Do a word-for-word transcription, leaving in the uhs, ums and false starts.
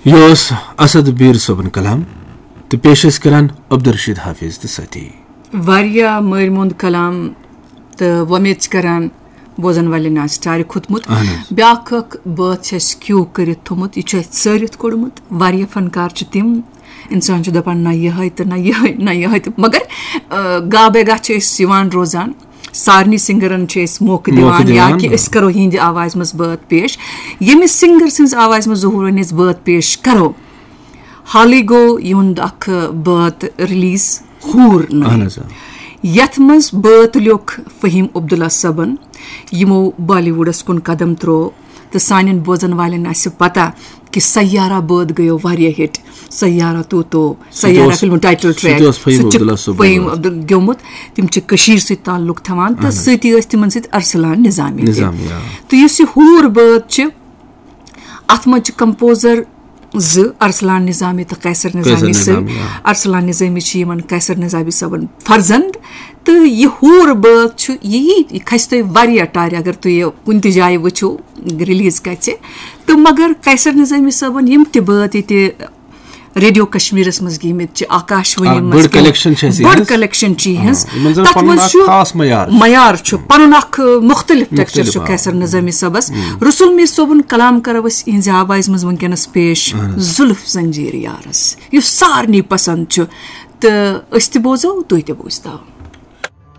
یہِ اوس اسد بیٖر صٲبُن کلام تہٕ پیش ٲسۍ کران عبدالرشید حافظ تہٕ سٲتھی۔ واریاہ مٲرۍ موٚنٛد کلام، تہٕ وۄمید چھِ کران بوزن والٮ۪ن آسہِ ٹارِ کھوٚتمُت۔ اہن حظ۔ بیٛاکھ اکھ بٲتھ چھُ اَسہِ کیو کٔرِتھ تھوٚمُت، یہِ چھُ اَسہِ ژٲرِتھ کوٚڑمُت۔ واریاہ فنکار چھِ تِم، انسان چھُ دپان نہ یِہوٚے تہٕ نہ یِہوٚے، نہ یِہوٚے تہٕ مگر، آ، گاہ بے گاہ چھِ أسۍ یِوان روزان۔ سارنٕے سنگرن چھِ أسۍ موقعہٕ موقعہٕ دِوان یا دِوان، کہِ آ۔ أسۍ کرو یِہنٛدِ آوازِ منٛز بٲتھ پیش۔ ییٚمِس سنگر سٕنٛز آوازِ منٛز ظہوٗر وۄنۍ أسۍ بٲتھ پیش کرو، حالٕے گوٚو یِہُنٛد اکھ بٲتھ ریلیز، ہوٗر نٔے، اہن حظ، آ۔ یتھ منٛز بٲتھ لیوٚکھ فہیم عبداللہ صٲبن، یِمو بالی ووڈس کُن قدم ترٛوو، تہٕ سانٮ۪ن بوزن والٮ۪ن آسہِ پتہ کہِ سیارہ بٲتھ گٔیو واریاہ ہٹ۔ سیارہ تو تو، سُہ تہِ سیارہ اوس- فلمُک ٹائٹل سُہ تہِ ٹریک، اوس فہیم سُہ تہِ چھُ عبداللہ صٲب فہیم گوٚمُت۔ عبدال گیومُت۔ تِم چھِ کٔشیٖر سۭتۍ تعلق تھاوان تہٕ اہن حظ۔ سۭتی ٲسۍ تِمن سۭتۍ ارسلان نظامی تہِ۔ نظامی، آ۔ تہٕ یُس یہِ ہوٗر بٲتھ چھِ، اتھ منٛز چھِ کمپوزر زٕ، ارسلان نظامی تہٕ قیصر نظامی قیصر صٲب۔ نظامی، آ۔ ارسلان نظامی چھِ یِمن قیصر نظامی صٲبن فرزند۔ تہٕ یہِ ہوٗر بٲتھ چھُ، یہِ یی، یہِ کھسہِ تۄہہِ واریاہ ٹارِ اگر تُہۍ یہِ کُنہِ تہِ جایہِ وٕچھِو، ریلیز گژھِ۔ تہٕ مگر قیصر نظامی صٲبن یِم تہِ بٲتھ ییٚتہِ ریڈیو کشمیرس منٛز گیمٕتۍ چھِ، آکاش وانی آ، منٛز بٔڑ گیمٕتۍ، کلیکشن چھِ اَسہِ بٔڑ یِہٕنٛز۔ کلیکشن چھِ یِہنٛز۔ آ، یِمن زن تتھ پنُن منٛز اکھ چھُ خاص معیار چھُ۔ معیار چھُ، پنُن اکھ، آ، مختلف ٹیکسچر مختلف، چھُ آ۔ قیصر نظامی صٲبس۔ رسول میر صٲبُن کلام کرو أسۍ یِہنٛزِ آوازِ منٛز وٕنکیٚنس پیش، اہن حظ۔ زُلف زنجیر یارس، یُس سارنٕے پسند چھُ۔ تہٕ أسۍ تہِ بوزو، تُہۍ تہِ بوٗزتو۔